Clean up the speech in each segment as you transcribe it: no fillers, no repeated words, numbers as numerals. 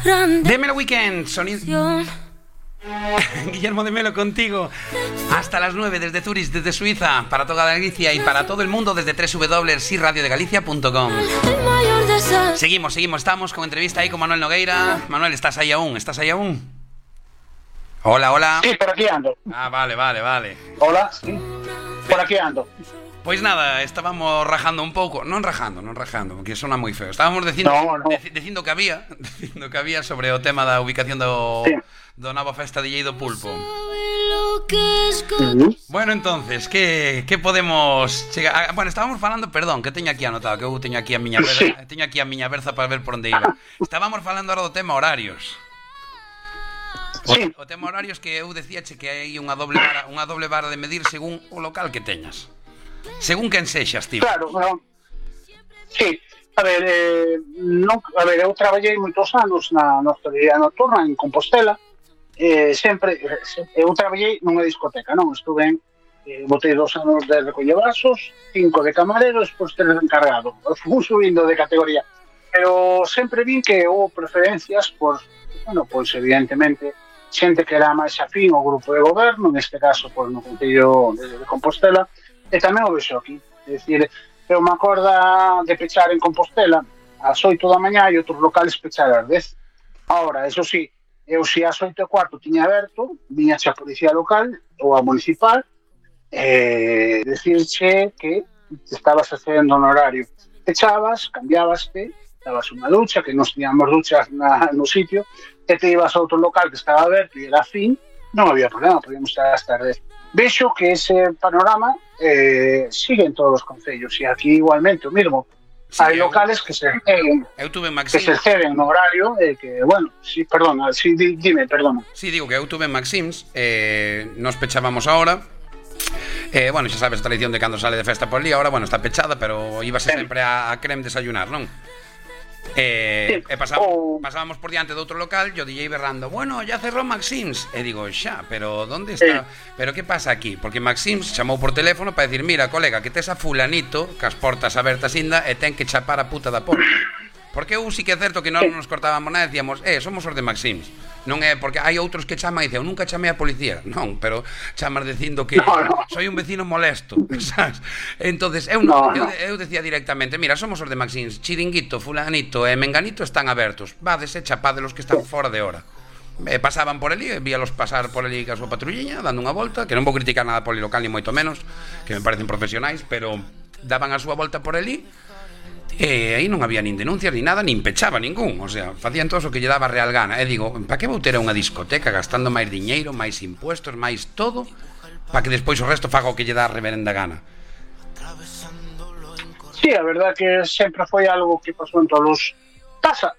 De Melo Weekend, sonido. Guillermo de Melo contigo hasta las 9 desde Zurich, desde Suiza, para toda Galicia y para todo el mundo desde www.siradiodegalicia.com. Seguimos, estamos con entrevista ahí con Manuel Nogueira. Manuel, ¿estás ahí aún? Hola. Sí, por aquí ando. Ah, vale. Hola, sí. Por aquí ando. Pois nada, estábamos rajando un pouco, non rajando, porque sona moi feo. Estábamos dicindo que había sobre o tema da ubicación do nova festa de Llei do Pulpo. Bueno, entonces, que podemos chegar? Bueno, estábamos falando, perdón, que teño aquí anotado, que eu teño aquí a miña berza para ver por onde iba. Estábamos falando ahora do tema horarios. O tema horarios que eu decíache que hai unha doble vara de medir según o local que teñas. Según quen sexas, tío. Claro, no. Sí, a ver, eu traballei moitos anos na hostelería nocturna en Compostela. Sempre eu traballei nunha discoteca, non? Estuve botei 2 anos de recoller vasos, 5 de camarero, despois 3 de encargado. Fui subindo de categoría. Pero sempre vin que houve preferencias por, pois evidentemente, xente que era máis afín ao grupo de goberno, neste caso, pois, no Concello de Compostela. E tamén o vexo aquí, é dicir, eu me acordo de pechar en Compostela ás 8 da mañá e outros locales pechar ás 10. Ahora, eso sí, eu se ás 8:15 tiña aberto, viñache a policía local ou a municipal, decirche que estabas accedendo no horario. Echabas, cambiabaste, dabas unha ducha, que nos tiñamos duchas no sitio, e te ibas a outro local que estaba aberto e era fin, non había problema, podíamos estar hasta as 10. Vexo que ese panorama sigue en todos os concellos e aquí igualmente o mismo. Sí, hai locales que se exceden no horario que, bueno, sí, perdona, sí, dime, perdona. Sí, digo que eu tuve en Maxims, nos pechábamos ahora. Bueno, xa sabes a tradición de cando sale de festa por ali, ahora, bueno, está pechada, pero íbase sempre a Crem desayunar, non? Pasábamos por diante de outro local, yo DJ berrando, bueno, ya cerró Maxims. E digo, xa, pero ¿dónde está? Pero que pasa aquí? Porque Maxims chamou por teléfono para decir, mira, colega, que tes a fulanito cas portas abertas inda e ten que chapar a puta da porta. Porque eu sí que é certo que non nos cortábamos nada e decíamos, somos os de Maxims. Non é porque hai outros que chaman e dicen, eu nunca chamei a policía. Non, pero chamas dicindo que soy un vecino molesto, sabes? Entonces, eu decía directamente, mira, somos os de Maxims, Chiringuito, fulanito e menganito están abertos. Vades e chapadelos que están fora de hora. Pasaban por ali, víalos pasar por ali ca súa patrulliña, dando unha volta, que non vou criticar nada polilocal ni moito menos, que me parecen profesionais, pero daban a súa volta por ali. E aí non había nin denuncias, nin nada, nin pechaba ningún. O sea, facían todo o que lle daba real gana. E digo, para que vou ter unha discoteca gastando máis diñeiro, máis impuestos, máis todo, para que despois o resto faga o que lle dá a reverenda gana? Sí, a verdad que sempre foi algo que pasou en todos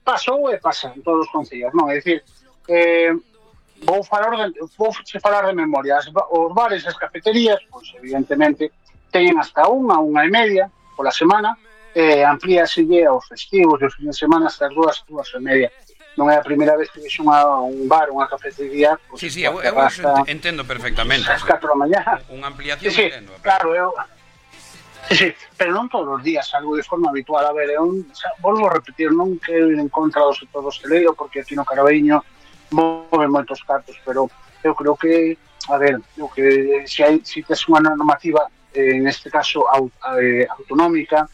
pasou e pasa en todos os concellos, non? É dicir, vou falar de memoria. Os bares e as cafeterías, pois evidentemente teñen hasta unha e media pola semana. Amplíaselle aos festivos e os fines de semana hasta as 2:30. Non é a primeira vez que vexo un bar, unha cafetería, pues, sí, eu entendo perfectamente as 4 da mañá. Unha ampliación, sí, entendo. Claro, pero non todos os días, algo de forma habitual. A ver, volvo a repetir, non quero ir en contra do sector hosteleiro, porque aquí no Caraveño move moitos cartos, pero eu creo que, a ver, se tes unha normativa, en este caso autonómica,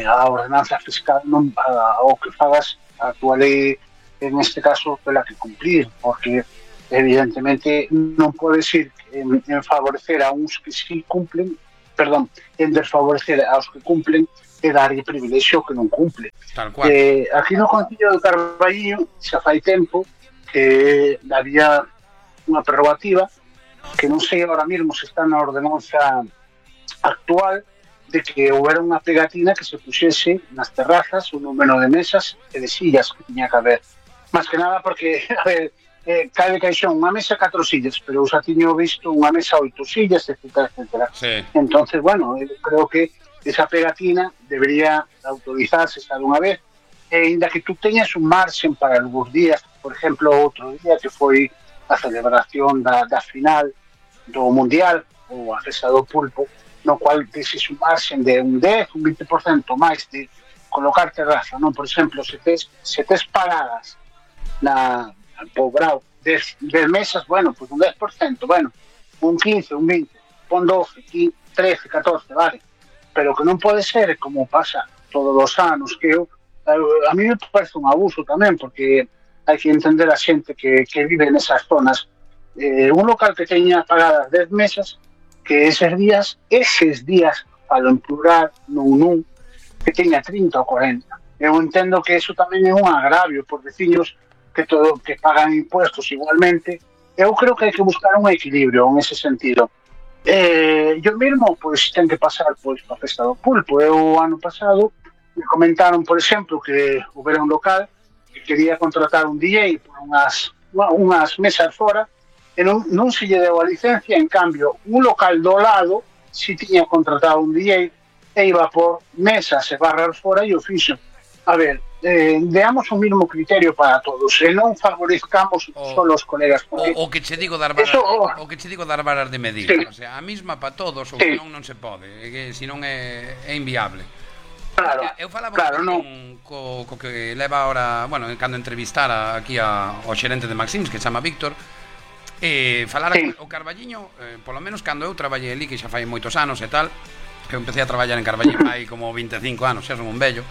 a ordenanza fiscal o que fagas a tua lei, en este caso, pela que cumplir, porque evidentemente non podes ir en favorecer a uns que sí cumplen, en desfavorecer aos que cumplen e darlle privilexio que non cumple. Tal cual. Aquí no Concello de Carballiño xa fai tempo que había unha prerrogativa que non sei ahora mesmo se está na ordenanza actual, de que houbera unha pegatina que se puxese nas terrazas o número de mesas e de sillas que tiña que haber. Más que nada porque, a ver, cabe caixón unha mesa 4 sillas, pero eu xa tiño visto unha mesa 8 sillas, etcétera. Sí. Entonces, bueno, eu creo que esa pegatina debería autorizarse esta dunha vez, e ainda que tú teñas un marxen para algúns días, por exemplo, outro día que foi a celebración da final do Mundial ou a festa do Pulpo, no cual deses un marxen de un 10, un 20% máis de colocar terraza, non? Por exemplo, se tes paradas na Pobrao, 10 mesas, bueno, pues un 10%, bueno, un 15, un 20, pon 12, 15, 13, 14, vale, pero que non pode ser como pasa todos os anos, que a mí me parece un abuso tamén, porque hai que entender a xente que vive nesas zonas. Un local que teña pagadas 10 mesas, que eses días, falo en plural, non, que teña 30 ou 40. Eu entendo que eso tamén é un agravio por veciños que pagan impuestos igualmente. Eu creo que hai que buscar un equilibrio en ese sentido. Yo mesmo, pois, ten que pasar pois a festa do pulpo. Eu, ano pasado, me comentaron, por exemplo, que houbera un local que quería contratar un DJ por unhas mesas fora, e non se lle deu a licencia. En cambio, un local do lado si tiña contratado un DJ e iba por mesas e barras fora e o fixo. A ver, deamos un mismo criterio para todos e non favorezcamos só os colegas. O que che digo dar varas de medir, sí. O sea, a mesma para todos, ou sí. non se pode, que senón é inviable. Claro, eu falaba claro, co que leva ahora, bueno, cando entrevistara aquí ao xerente de Maxims, que se chama Víctor, falara sí. O Carballiño, polo menos cando eu traballei ali, que xa fai moitos anos e tal, que eu empecé a traballar en Carballiño hai como 25 anos, xa son un vello.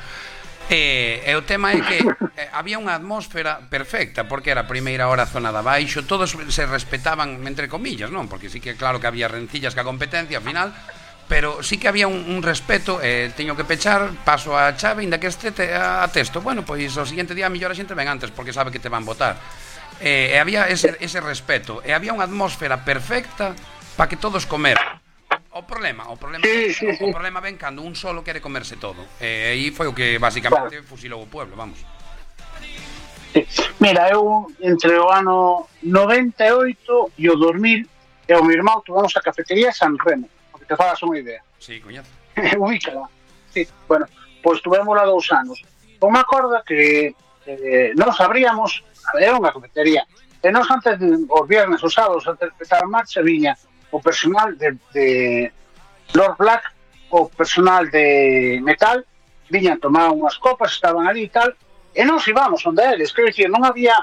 E o tema é que había unha atmósfera perfecta, porque era a primeira hora zona de abaixo, todos se respetaban entre comillas, non? Porque sí que claro que había rencillas ca competencia ao final, pero sí que había un respeto. Teño que pechar, paso a chave, inda que este a texto, bueno, pois o seguinte día a mellor a xente ven antes porque sabe que te van votar. E había ese respeto, e había unha atmósfera perfecta para que todos comeran. O problema ven cando un solo quere comerse todo. E aí foi o que basicamente fusilou o pueblo, vamos. Mira, eu entre o ano 98 e o 2000 e o meu irmão tuvamos a cafetería San Remo, porque te fagas unha idea. Sí, coñazo. Ubícala. Sí, bueno, pois tuvémola 2 anos. Eu me acordo que nos abríamos, era unha cafetería, e nos antes os viernes, os sábados, antes de empezar a marcha, viña o personal de Lord Black, o personal de Metal, viñan tomar unhas copas, estaban ali e tal, e nos íbamos onde eles. Quero dicir, non había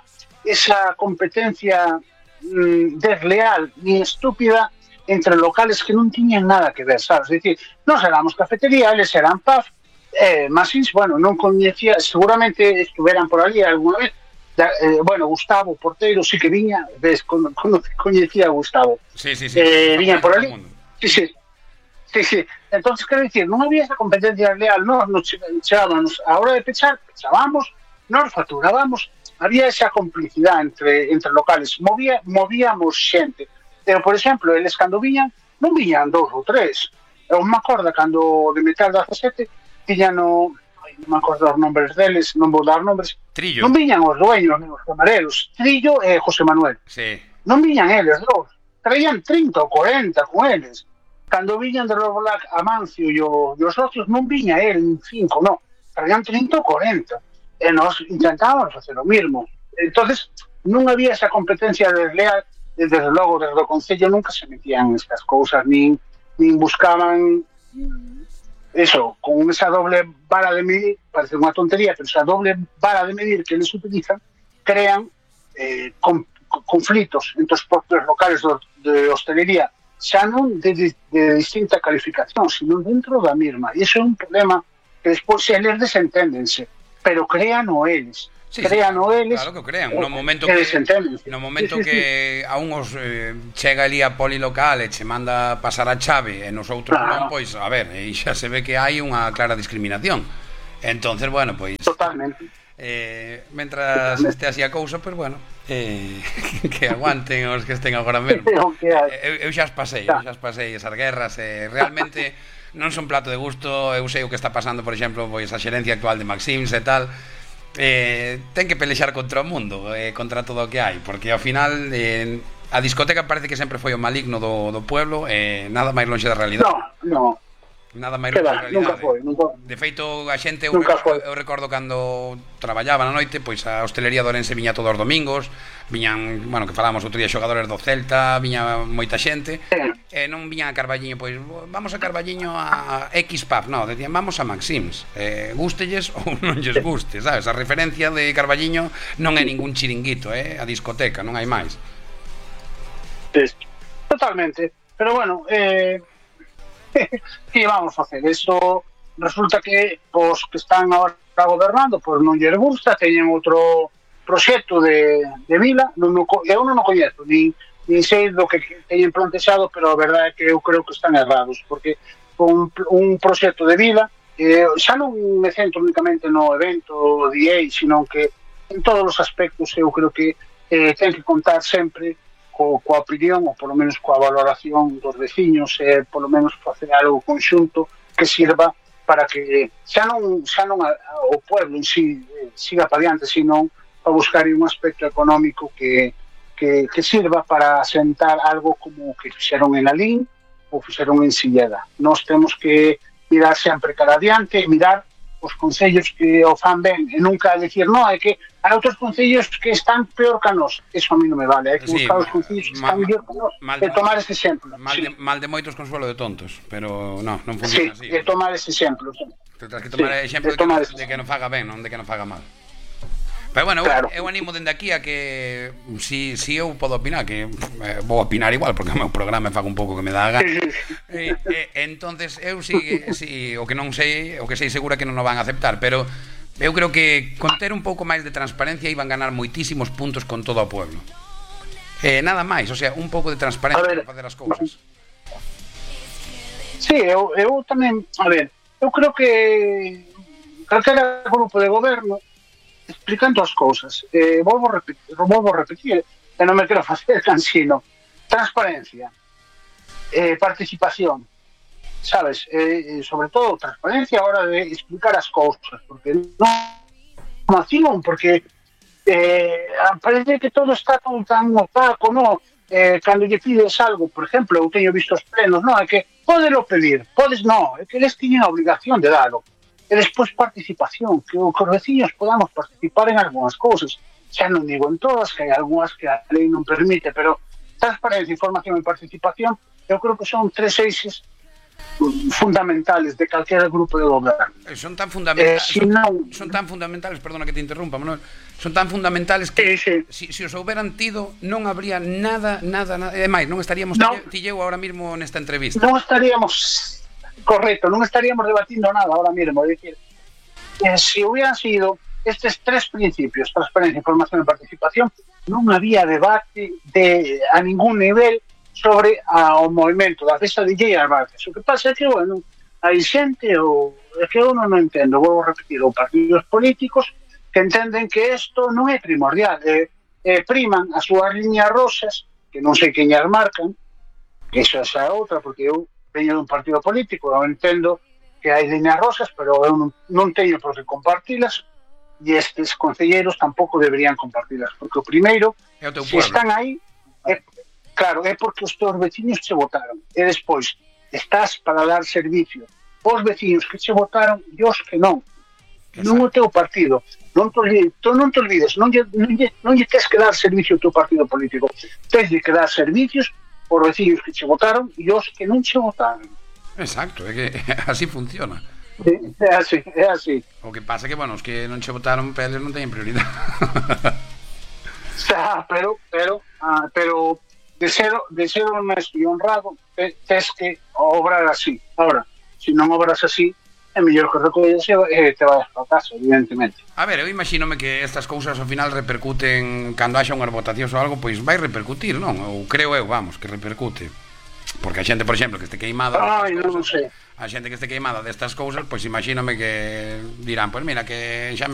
esa competencia desleal ni estúpida entre locales que non tiñan nada que ver, sabes? É dicir, nos éramos cafetería, eles eran pub, Masins, bueno, non coñecía, seguramente estuveran por ali alguna vez. Bueno, Gustavo, porteiro, sí que viña, ves, coñecía a Gustavo. Sí. Viña por ali. Sí. Entonces, quero dicir, non había esa competencia leal, nos chegábamos a hora de pechábamos, nos facturábamos, había esa complicidade entre locales, movíamos xente. Pero, por exemplo, eles cando viñan, non viñan 2 ou 3. Eu me acordo cando de Metal 17 tiñan non me acordo os nombres deles, non vou dar nombres. Trillo. Non viñan os dueños, nem os camareros. Trillo e José Manuel. Sí. Non viñan eles dous. Traían 30 ou 40 con eles. Cando viñan de Lord Black, Amancio e os socios, non viña el, 5, non. Traían 30 ou 40. E nós intentábamos facer o mismo. Entonces, non había esa competencia desleal. Desde logo, desde o Concello nunca se metían estas cousas, nin buscaban eso, con esa doble vara de medir, parece unha tontería, pero esa doble vara de medir que eles utilizan, crean conflitos entre os propios locales de hostelería, xa non de distinta calificación, sino dentro da mesma. E iso é un problema que despois eles desenténdense, pero crean o eles. Sí, eles. Claro que crean. No momento que a uns chega ali a polilocal e che manda pasar a chave e nos outros non, pois, a ver, e xa se ve que hai unha clara discriminación. Entonces, bueno, pois totalmente. Mentras este así a cousa, pois, bueno, que aguanten os que estén agora mesmo. Eu xa as pasei esas guerras, realmente non son plato de gusto. Eu sei o que está pasando, por exemplo, pois a xerencia actual de Maxims e tal. Ten que pelexar contra o mundo, contra todo o que hai, porque ao final a discoteca parece que sempre foi o maligno do pueblo, nada máis lonxe da realidade. No. Nada máis longe da realidade. Nunca. De feito, a xente, eu recordo cando traballaba na noite, pois a hostelería de Ourense viña todos os domingos, viñan, bueno, que falábamos outro día, xogadores do Celta, viña moita xente, non viñan a Carballiño, pois vamos a Carballiño a X pub, non, decían vamos a Maxims, gústelles ou non lles guste, sabes? A referencia de Carballiño non é ningún chiringuito, a discoteca, non hai máis. Totalmente, pero bueno, que vamos a facer? Eso resulta que os que están agora gobernando, pois non lles gusta, teñen outro proxecto de vila, eu non o coñezo, nin sei do que teñen plantexado, pero a verdade é que eu creo que están errados, porque un proxecto de vila xa non me centro únicamente no evento DA, sino que en todos os aspectos eu creo que ten que contar sempre coa opinión, ou polo menos coa valoración dos veciños, polo menos facer algo conxunto que sirva para que xa non o pueblo en sí siga para diante, sino para buscar un aspecto económico que sirva para asentar algo como que fixeron en Alín ou fixeron en Silleda. Nós temos que mirar sempre cara adiante, mirar os concellos que o fan ben e nunca decir, non, é que hai outros concellos que están peor que a nós. Eso a mí non me vale, hai que buscar os concellos que están mellor que a nós e tomar ese exemplo. Mal de moitos consuelo de tontos, pero non funciona así. Sí, e tomar ese exemplo. Tens que tomar exemplo de que non faga ben, non de que non faga mal. Pero bueno, claro. eu animo dende aquí a que si eu podo opinar, que vou opinar igual porque o meu programa fago un pouco que me dá a gana. Entonces eu si o que non sei, o que sei segura que non o van a aceptar, pero eu creo que con ter un pouco máis de transparencia iban ganar moitísimos puntos con todo o pueblo. Nada máis, o sea, un pouco de transparencia para facer as cousas. Sí, eu tamén, a ver, eu creo que calquera grupo de goberno explicando as cousas, volvo a repetir, e non me quero facer cansino. Transparencia, participación, sabes, sobre todo transparencia a hora de explicar as cousas, porque non acción, porque parece que todo está tan opaco, non? Cando lle pides algo, por exemplo, eu teño visto os plenos, non? É que podelo pedir, podes non, é que eles tiñen a obligación de dalo. E despois participación, que os veciños podamos participar en algunhas cousas, xa non digo en todas, que hai algunhas que a lei non permite, pero transparencia, información e participación eu creo que son tres eixes fundamentales de calquera grupo de goberno. Son tan fundamentales, perdona que te interrumpa, Manuel, son tan fundamentales que si os houberan tido non habría nada, e máis, non estaríamos ti eu ahora mismo nesta entrevista. Non estaríamos... Correcto, non estaríamos debatindo nada ahora mismo, é dicir, se hubieran sido estes tres principios, transparencia, información e participación, non había debate a ningún nivel sobre o movimento da festa de Illa Barces. O que pasa é que, bueno, hai xente, é que eu non entendo, vou repetir, ou partidos políticos que entenden que isto non é primordial, priman as súas liñas rosas, que non sei quen as marcan, que iso é outra, porque eu veño dun partido político, eu entendo que hai liñas rosas, pero eu non teño por que compartilas, e estes concelleiros tampouco deberían compartilas, porque o primeiro, se están aí, claro, é porque os teus veciños che votaron, e despois estás para dar servicio aos veciños que che votaron e os que non. Non o teu partido, non te olvides, non lle tes que dar servicio ao teu partido político, tes que dar servicios os veciños que che votaron e os que non che votaron. Exacto, é que así funciona. É así. O que pasa é que, bueno, os que non che votaron peles non teñen prioridade. Pero de ser honesto e honrado tes que obrar así. Ahora, se non obras así, é mellor que recolles e te vais para casa, evidentemente. A ver, eu imagínome que estas cousas ao final repercuten cando haxa unhas votacións ou algo, pois vai repercutir, non? Ou creo eu, vamos, que repercute. Porque a xente, por exemplo, que este queimada, non sei. A xente que este queimada destas cousas, pois imagínome que dirán, pois mira, que xa me